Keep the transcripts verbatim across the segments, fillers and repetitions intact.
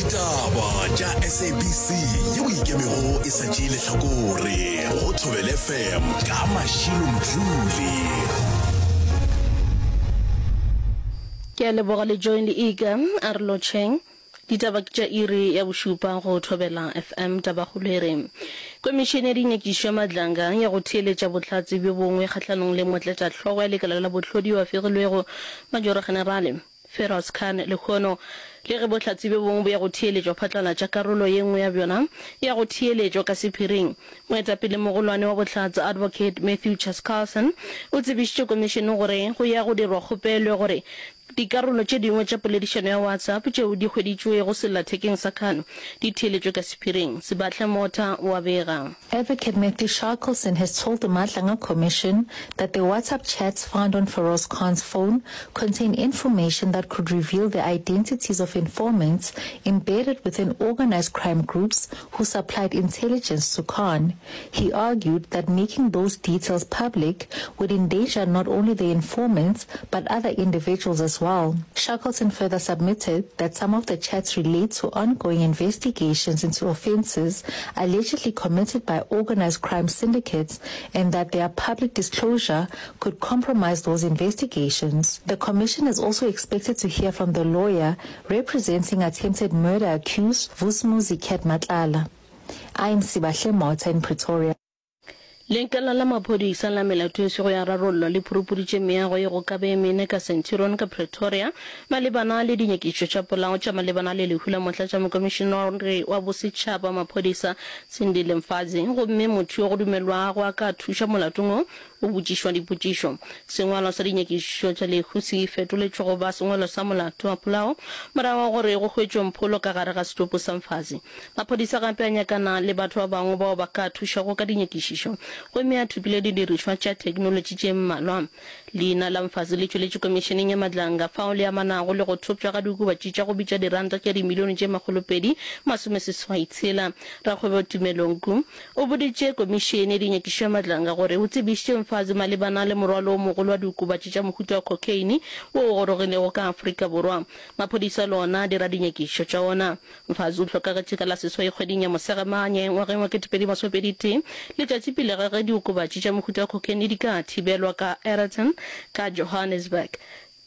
Ditaba tša S A B C yeo ikemego e sa tšee lehlakore go Thobela F M ka Mashilo Mdluli. Ke a leboga le join le ika a re lotšheng. Ditaba ke tša iri ya bošupa go Thobela F M. Tabakgolo e re Komišene ya Dinyakišišo ya Madlanga ya go theeletša bohlatse bjo bongwe kgahlanong le motlatšahlogo ya lekala la bohlodi yo a fegilwego Majoro Generale Feroz Khan lehono. Le ge bohlatse bjo bongwe bo ya go theeletšwa phatlalatša, karolo ye nngwe ya bjona e ya go theeletšwa ka sephiring. Moetapele mogolwane wa bohlatse Advocate Matthew Chaskalson o tsebišitše komišene gore go ya go dirwa kgopelo ya gore dikarolo tše dingwe tša poledišano ya WhatsApp tšeo di hweditšwego sellathekeng sa Khan di theeletšwe ka sephiring. Sebahle Motha o a bega. Advocate Matthew Shackleton has told the Madlanga Commission that the WhatsApp chats found on Feroz Khan's phone contain information that could reveal the identities of informants embedded within organized crime groups who supplied intelligence to Khan. He argued that making those details public would endanger not only the informants but other individuals as well. Shackleton further submitted that some of the chats relate to ongoing investigations into offences allegedly committed by organized crime syndicates and that their public disclosure could compromise those investigations. The commission is also expected to hear from the lawyer representing attempted murder accused Vusimuzi Cat Matlala. I'm Sibahle Motha in Pretoria. Lekala la maphodisa la melato e sego ya rarollwa le phurupuditše meago ye go ka be e mene ka Centurion ka Pretoria malebana le dinyakišišo tša polao tša malebana le lehu la motlatšamokomišenare wa bosetšhaba wa maphodisa Sindile Mfazi, gomme motho yo go dumelwago a ka thuša molatong wo o botšišwa dipotšišo. Sengwalwa sa dinyakišišo tša lehu se fetoletšwe go ba sengwalwa sa molato wa polao morago ga gore go hwetšwe mpholo ka gare ga setopo sa Mfazi. Maphodisa gape a nyakana le batho ba bangwe bao ba ka thušago ka dinyakišišo gomme a thopile didirišwa tša theknolotši tše mmalwa. Leina la Mfazi le tšweletše Komišeneng ya Madlanga fao le amanago le go thopša ga diokobatši tša go bitša diranta tša dimilione tše makgolopedi masomeseswai tshela. Rakgwebo Tumelo Nku o boditše Komišene ya Dinyakišišo ya Madlanga gore o tsebišitše Mfazi malebana le morwalo o mogolo wa diokobatši tša mohuta wa khokheine wo o gorogilego ka Afrika Borwa. Maphodisa le ona a dira dinyakišišo tša ona. Mfazi o hlokagetše ka la seswai kgweding ya Mosegamanye ngwageng wa ketepedi masomepedi tee, letšatši pele ga ge diokobatši tša mohuta wa khokheine di ka thibelwa ka Aeroton ka Johannesburg.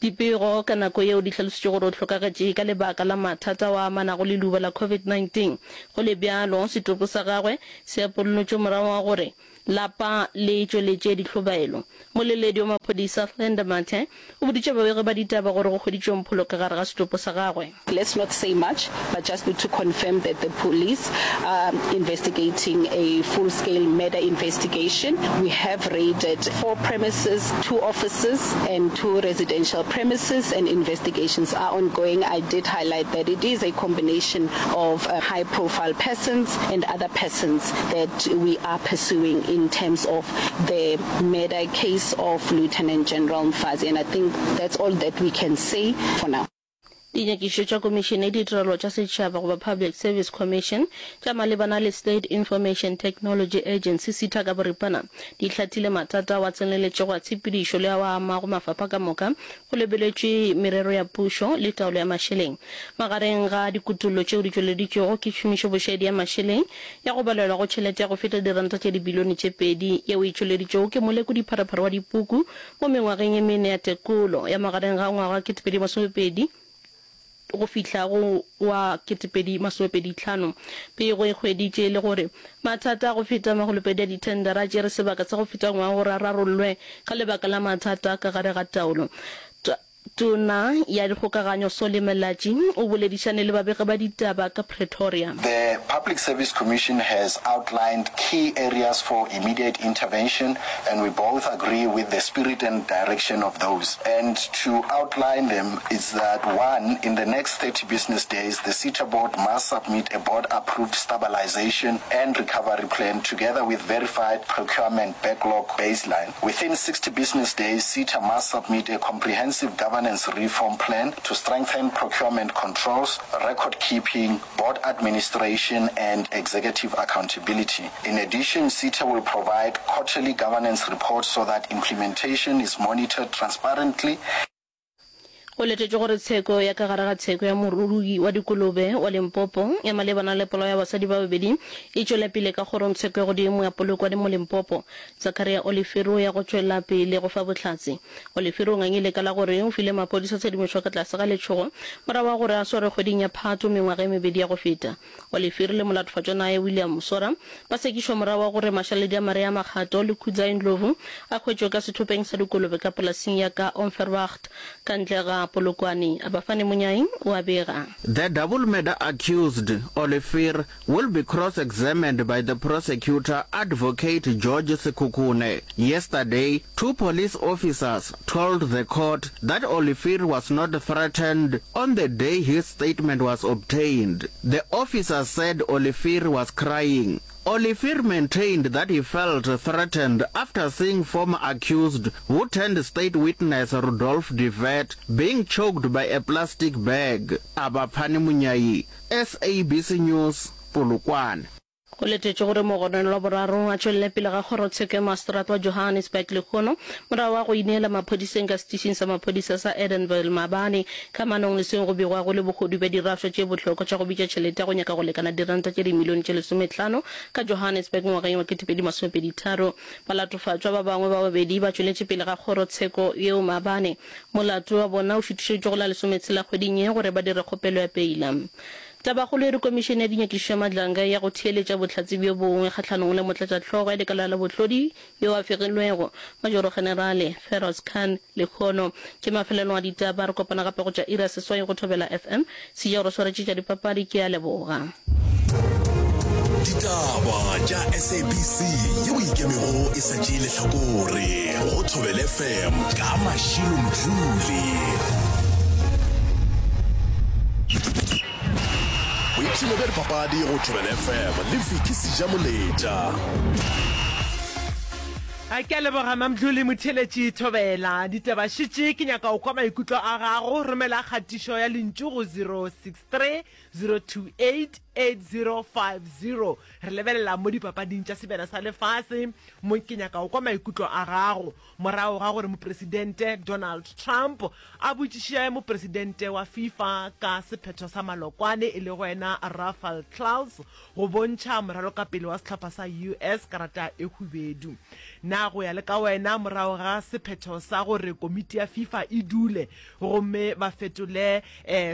Dipego ka nako yeo di hlalositše gore o hlokagetše ka lebaka la mathata ao a amanago le leuba la COVID nineteen Go le bjalo, setopo sa gagwe se apollotšwe morago ga gore lapa le tšweletše dihlobaelo. Moleledi wa maphodisa Glenda Mathe o boditše babegi ba ditaba gore go hweditšwe mpholo ka gare ga setopo sa gagwe. Let's not say much, but just to confirm that the police are investigating a full-scale murder investigation. We have raided four premises, two offices and two residential premises, and investigations are ongoing. I did highlight that it is a combination of high-profile persons and other persons that we are pursuing in terms of the murder case of Lieutenant General Mfazi, and I think that's all that we can say for now. Dinyakišišo tša Komišene ya Ditirelo tša Setšhaba goba Public Service Commission tša malebana le State Information Technology Agency, SITA ka boripana, di hlathile mathata ao a tseneletšego a tshepedišo le ao a amago mafapha ka moka go lebeletšwe merero ya pušo le taolo ya mašeleng. Magareng ga dikutollo tšeo di tšweleditšwego ke tšhomišobošaedi ya mašeleng ya go balelwa go tšhelete ya go feta diranta tše dibilione tše pedi yeo e tšweleditšwego ke molekodi-pharephare wa dipuku mo mengwageng ye mene ya tekolo ya magareng ga ngwaga wa ketepedi masomepedi go fihla go wa ketepedi masomepedi tlhano. Pego e hweditše e le gore mathata a go feta magolopedi a dithendara a tšere sebaka sa go feta ngwaga gore a rarollwe ka lebaka la mathata ka gare ga taolo. Tona ya Dikgokaganyo Solly Malatji o boledišane le babegi ba ditaba ka Pretoria. The Public Service Commission has outlined key areas for immediate intervention and we both agree with the spirit and direction of those. And to outline them is that one, in the next thirty business days the SETA board must submit a board-approved stabilization and recovery plan together with verified procurement backlog baseline. Within sixty business days SETA must submit a comprehensive governance reform plan to strengthen procurement controls, record keeping, board administration and executive accountability. In addition, SETA will provide quarterly governance reports so that implementation is monitored transparently. Go letetšwe gore tsheko ya ka gare ga tsheko ya morui wa dikolobe wa Limpopo ya malebana le polao ya basadi ba babedi e tšwele pele ka kgorongtsheko ya godimo ya Polokwane mo Limpopo. Zachariah Olivier o ya go tšwela pele go fa bohlatse. Olivier o ngangile ka la gore o file maphodisa tshedimošo ka tlase ga letšhogo morago ga gore a swarwe kgweding ya Phato mengwaga e mebedi ya go feta. Olivier le molatofatšwa naye William Musora ba sekišwa morago ga gore mašaledi a Maria Makgato le Kudzai Ndlovu a hwetšwe ka sethopeng sa dikolobe ka polasing ya ka Onverwacht ka ntle ga Polokwane. Abafani Monyai o a bega. The double murder accused, Olivier, will be cross-examined by the prosecutor, Advocate George Sekhukhune. Yesterday, two police officers told the court that Olivier was not threatened on the day his statement was obtained. The officer said Olivier was crying. Olivier maintained that he felt threatened after seeing former accused who turned state witness Rudolf de Wet being choked by a plastic bag. Abafani Munyai, S A B C News, Polokwane. Go letetšwe gore mogononelwa wa boraro a tšwelele pele ga kgorotsheko ya maseterata wa Johannesburg lehono morago ga go ineela maphodiseng ka setišing sa maphodisa sa Edenvale maabane kamanong le seo go begwago le bohodu bja dirašwa tše bohlokwa tša go bitša tšhelete ya go nyaka go lekana diranta tše dimilione tše lesomehlano ka Johannesburg ngwageng wa ketepedi masomepedi tharo. Balatofatšwa ba bangwe ba babedi ba tšweletše pele ga kgorotsheko yeo maabane. Molato wa bona o šutišeditšwe go la lesometshela kgweding ye gore ba dire kgopelo ya peila. Tabakgolo e re Komišene ya Dinyakišišo ya Madlanga e ya go theeletša bohlatse bjo bongwe kgahlanong le motlatšahlogo ya lekala la bohlodi yo a fegilwego, Majoro-Generale Feroz Khan, lehono. Ke mafelelo a ditaba, re kopana gape go tša iri ya seswai go Thobela F M. Seja o re swaretše tša dipapadi, ke a leboga. Ditaba tša S A B C yeo ikemego e sa tšee lehlakore go Thobela F M ka Mashilo Mdluli. Boipshino bja dipapadi go Thobela F M le Vicky Sejamoletša. A ke a leboga Mamdluli Motheeletši Thobela. Ditaba šetše ke nyaka o kwa maikutlo a gago. Romela kgatišo ya lentšu go zero six three zero two eight eight zero five zero. Re lebelela mo dipapading tša Sebjana sa Lefase mo ke nyaka o kwa maikutlo a gago morago ga gore Mopresidente Donald Trump a botšiše mopresidente wa FIFA ka sephetho sa malokwane e lego yena Rafael Claus go bontšha moralokapele wa sehlopha sa U S karata e hubedu. Na go ya le ka wena morago ga sephetho sa gore komiti ya FIFA e dule gomme ba fetole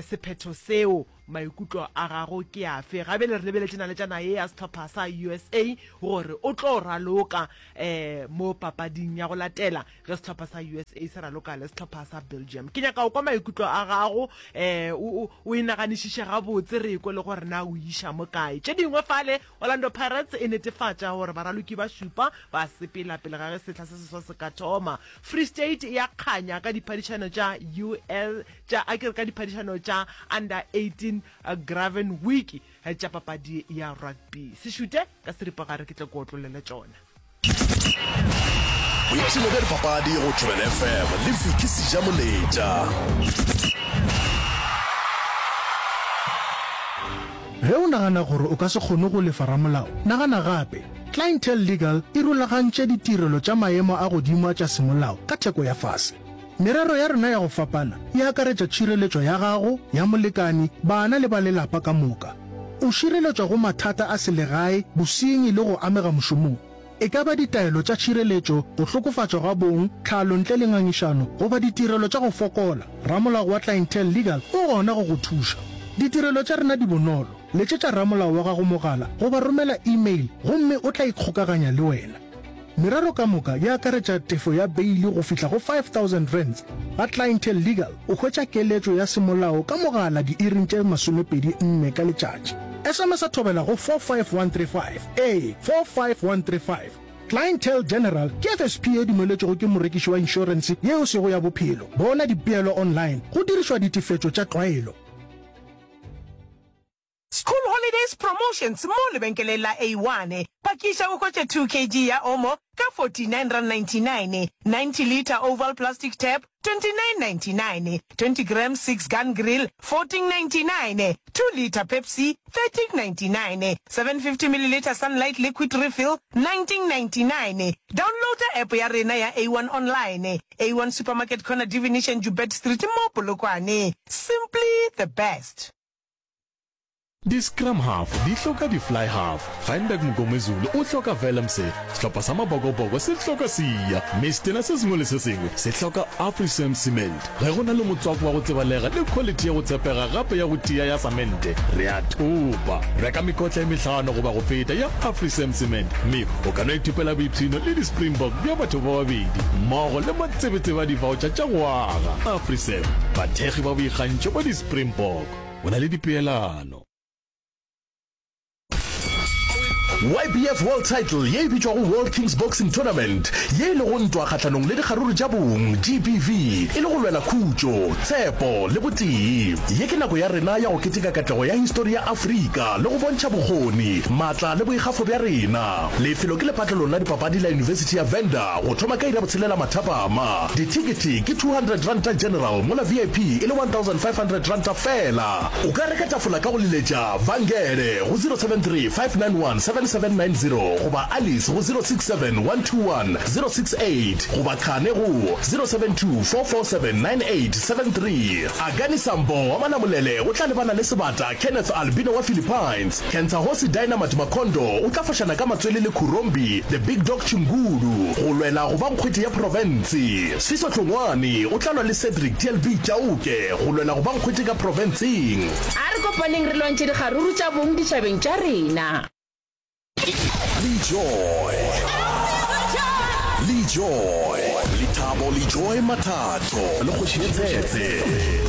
sephetho seo, maikutlo a gago ke afe? Ga bjale re lebeletše naletšana ye ya sehlopha sa U S A gore o tlo raloka mo papading ya go latela ge sehlopha sa U S A se raloka le sehlopha sa Belgium. Ke nyaka go kwa maikutlo a gago, o, o, o e naganišiše gabotse re ekwe le gore na o iša mo kae. Tše dingwe fale, Orlando Pirates e netefatša gore baraloki ba šupa ba sepela pele ga ge sehla se seswa se ka thoma. Free State e a kganya ka diphadišano tša U L tša a ke re ka diphadišano tša Under eighteen Graven Week tša papadi ya rugby. Se šute ka seripagare ke tle ke otlollele tšona. Boipshino bja dipapadi go Thobela F M le Vicky Sejamoletša. Ge o nagana gore o ka se kgone go lefa ramolao, nagana gape. Clientele Legal e rulagantše ditirelo tša maemo a godimo a tša semolao ka theko ya fase. Merero ya rena ya go fapana e akaretša tšhireletšo ya gago, ya molekani, bana le ba lelapa ka moka. O šireletšwa go mathata a selegae, bosenyi le go amega mošomong. E ka ba ditaelo tša tšhireletšo, go hlokofatšwa ga bong, tlhalo ntle le ngangišano goba ditirelo tša go fokola, ramolao wa Clientele Legal o gona go go thuša. Ditirelo tša rena di bonolo, letšetša ramolao wa gago mogala goba romela email gomme o tla ikgokaganya le wena. Merero ka moka e akaretša tefo ya beile go fihla go five thousand rands. Ga Clientele Legal o hwetša keletšo ya semolao ka mogala diiring tše masomepedi nne ka letšatši. S M S Thobela go four five one three five, ee, four five one three five. Clientele General ke F S P e dumeletšwego ke morekiši wa inšorense ye e sego ya bophelo. Bona dipeelo online go dirišwa ditefetšo tša tlwaelo. School holiday. Friday's promotions mo lebenkeleng la A one. Pakiša o hwetše two kg ya Omo ka forty nine rand ninety nine, ninety litre oval plastic tap twenty nine ninety nine, twenty grams six gun grill fourteen ninety nine, two litre Pepsi thirteen ninety nine, seven fifty millilitre Sunlight liquid refill nineteen ninety nine. Downloada app ya rena ya A one online. A one Supermarket corner Divination Joubert Street mo Polokwane. Simply the best. Di-scrum half di hloka di-fly half, Feinberg Mngomezulu o hloka Willemse, sehlopha sa Mabokoboko se hloka Siya, mme setena se sengwe le se sengwe se hloka Afrisem Cement. Ge go na le motswako wa go tsebalega le quality ya go tshepega gape ya go tia ya samente, re a thopa. Reka mekotla e mehlano goba go feta ya Afrisem Cement mme o ka no ithopela boipshino le di-Springbok bja batho ba babedi mmogo le matsebetsebe a di-voucher tša go aga. Afrisem, bathekgi ba boikgantšho ba di-Springbok. Go na le dipeelano. Y B F World Title ye e bitšwago World Kings Boxing Tournament, ye e lego ntwa kgahlanong le dikgaruru tša bong, G B V, e le go lwela khutšo, tshepo le botee. Ye ke nako ya rena ya go keteka katlego ya histori ya Afrika le go bontšha bokgoni, maatla le boikgafo bja rena. Lefelo ke lepatlelong la dipapadi la Yunibesithi ya Venda go thoma ka iri ya botshelela mathapama. Dithekethe ke two hundred ranta general mola V I P e le one thousand five hundred ranta feela. O ka reka tafola ka go leletša Vangele go zero seven three five nine one seven seven nine zero goba Alice go zero six seven one two one zero six eight goba Khane go zero seven two four four seven nine eight seven three. Akani Sambo wa Malamulele o tla lebana le sebata Kenneth Albino wa Philippines. Cancer Hosi Dynamite Makondo o tla fošana ka matswele le Khurombi The Big Dog Chingulu go lwela go ba nkgwete ya profense. Sfiso Hlongwane o tla lwa le Cedric T L B Chauke go lwela go ba nkgwete ka profenseng. A re kopaneng re lwantšhe dikgaruru tša bong ditšhabeng tša rena. Lejoy Lejoy Lethabo Lejoy Mathatho le Kgoši ye Tshetshe.